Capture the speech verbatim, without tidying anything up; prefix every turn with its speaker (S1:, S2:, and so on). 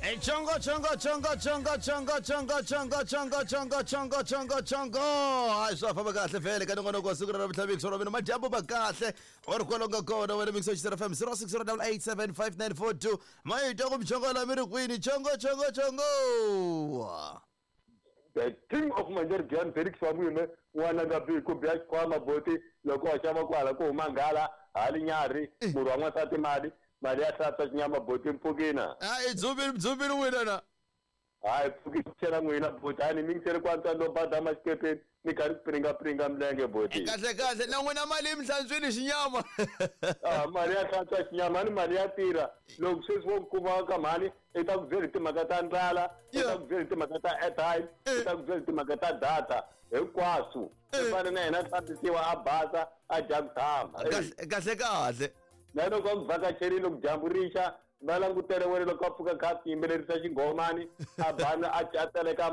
S1: E chongo chongo chongo chongo chongo chongo chongo chongo chongo chongo chongo chongo hayi swa famba kahle vhele ka nongonoko wa siku ra namuntlha ra mina madyambu ma kahle u ri kwalomu ka kona wena mixo xisera fm zero six zero double eight seven five nine four two ma yi twa ku michongo la mi ri kwini chongo chongo chongo
S2: The king of Manjergian Felix wa n'wina n'wana nga bi ku biya xikhwama boti loko wa xava kwala ku huma nghala hali nyarhi murhi wa n'wansati mali mali ya hlantswa xinyama boti mpfukina
S1: hayi dzumbi dzumbi n'wina na
S2: hayi pfuki chela n'wina boti hani mi ngisele ku antswa no badama xikepeni mi karhi ku piringapiringa milenge boti
S1: kahle kahle na n'wina mali yi mi hlantswini xinyama
S2: ah mali ya hlantswa xinyama ni mali ya tirha loko sweswi wo kuma ka mhani i ta ku byela hi timhaka ta ndlala i ta ku byela hi timhaka ta airtime i ta ku byela hi timhaka ta data hinkwaswo i fane na yena a hlambisiwa a basa a dya ku tshama
S1: kahle kahle kahle
S2: na loko a ku vhakacherile loko dyambu rixa va langutele wena loko a pfuka kha a tiyimbelerisa xinghomani a bana a a tseleka